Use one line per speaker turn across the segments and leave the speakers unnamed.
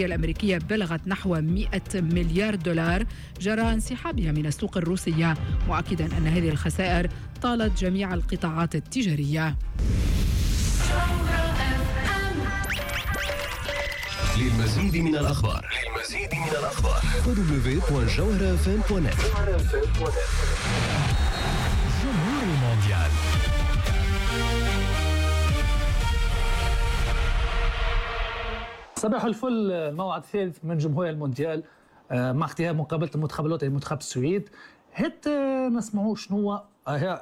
الأمريكية بلغت نحو 100 مليار دولار جراء انسحابها من السوق الروسية، مؤكدا أن هذه الخسائر طالت جميع القطاعات التجارية.
للمزيد من الأخبار www.jawharafm.net. جمهور المونديال.
صباح الفل. الموعد الثالث من جمهور المونديال مع اختيار مقابلة المنتخب الوطني منتخب السويد. حتى نسمعوا شنو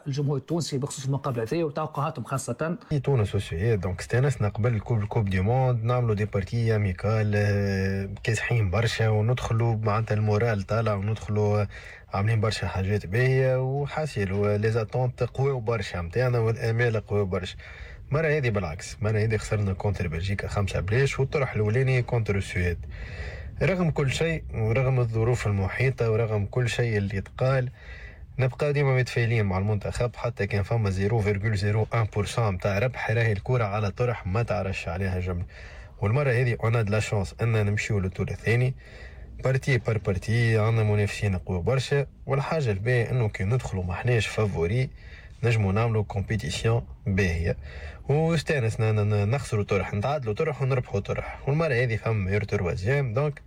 الجمهور التونسي بخصوص المقابلة هذه وتوقعاتهم خاصة.
تونس والسويد donc استانسنا قبل coupe du monde نعملوا des parties amicales كاسحين برشا وندخلوا معناتها ال moral طالع وندخلوا عاملين برشا حاجات باهيه وحاسيل les attentes قويو برشا نتاعنا والامال قويو برشا. المرة هذه بالعكس، المرة هذه خسرنا contre بلجيكا 5-0 والطرح الأولاني contre السويد. رغم كل شيء ورغم الظروف المحيطة ورغم كل شيء اللي يتقال نبقى ديما متفائلين مع المنتخب، حتى كان فما 0.01% نتاع ربح راهي الكرة على طرح ما تعرفش عليها جملة. والمرة هذه on a de la chance ان نمشيو لل tour الثاني partie par partie، عندنا منافسين قوي برشا، والحاجة الباهية انه كي ندخلوا ما حناش favoris نجمو نعملو compétition باهية واستانسنا نخسرو طرح نتعادلو طرح ونربحو طرح. والمرة هذه فما meilleur troisième، donc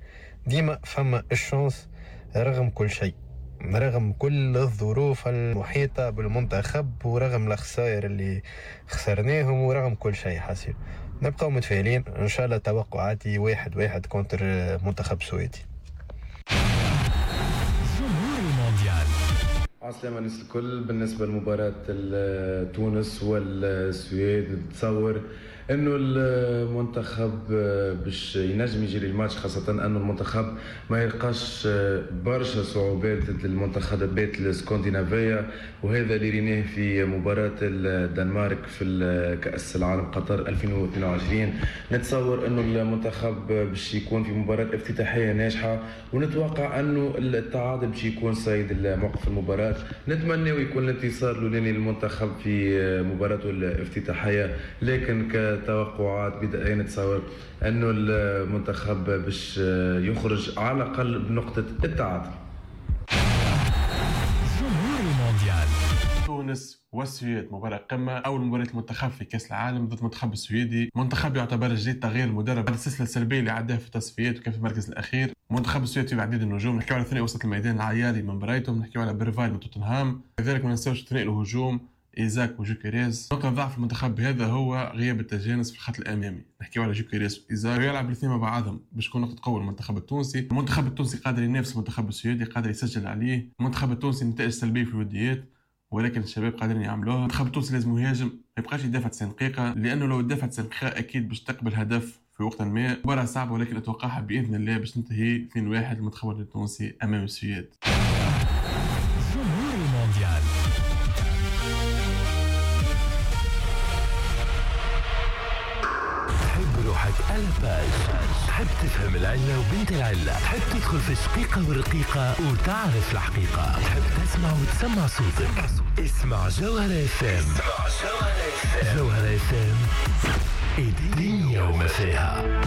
ديما فما ال chance رغم كل شيء، رغم كل الظروف المحيطة بالمنتخب ورغم الخسائر اللي خسرناهم ورغم كل شيء حاسين نبقاو متفائلين ان شاء الله. توقعاتي 1-1 contre منتخب السويدي.
جمهور المونديال.
عسلامة الناس الكل. بالنسبة لمباراة تونس والسويد نتصور انه المنتخب باش ينجم يجري الماتش، خاصة انه المنتخب ما يلقاش برشا صعوبات ضد المنتخبات الاسكندنافية، وهذا اللي ريناه في مباراة الدنمارك في كأس العالم قطر 2022. نتصور انه المنتخب باش يكون في مباراة افتتاحية ناجحة، ونتوقع انه التعادل باش يكون سيد الموقف المباراة. نتمنى يكون الانتصار الاولاني للمنتخب في مباراته الافتتاحية، لكن توقعات بداية نتصور انه المنتخب باش يخرج على الاقل بنقطة التعادل.
جمهور المونديال.
تونس والسويد مباراة قمة، أول مباراة المنتخب في كأس العالم ضد المنتخب السويدي، منتخب يعتبر جديد تغيير المدرب بعد السلسلة السلبية اللي عداها في التصفيات وكان في المركز الأخير. منتخب السويد في عديد النجوم، نحكيو على ثنائي وسط الميدان العياري من برايتون، نحكيو على بيرفايل من توتنهام، كذلك ما ننساوش ثنائي الهجوم إيزاك وجوكيريز. نقطة ضعف المنتخب هذا هو غياب التجانس في الخط الأمامي، نحكيو على جوكيريز وإيزاك يلعب الاثنين مع بعضهم باش تكون نقطة قوة للمنتخب التونسي. المنتخب التونسي قادر ينافس المنتخب السويدي، قادر يسجل عليه. المنتخب التونسي نتائج سلبية في الوديات ولكن الشباب قادرين يعملوها. المنتخب التونسي لازم يهاجم، ما يبقاش يدافع 90 دقيقة، لأنه لو دافع 90 دقيقة أكيد باش تقبل هدف في وقت ما. مباراة صعبة ولكن أتوقعها بإذن الله باش تنتهي 2-1 للمنتخب التونسي أمام السويد.
جمهور المونديال. تحب روحك à la page، تحب تفهم العلة وبنت العلة، تحب تدخل في الشقيقة والرقيقة وتعرف الحقيقة، تحب تسمع وتسمع صوتك. اسمع جوهرة FM. جوهرة FM، الدنيا وما فيها.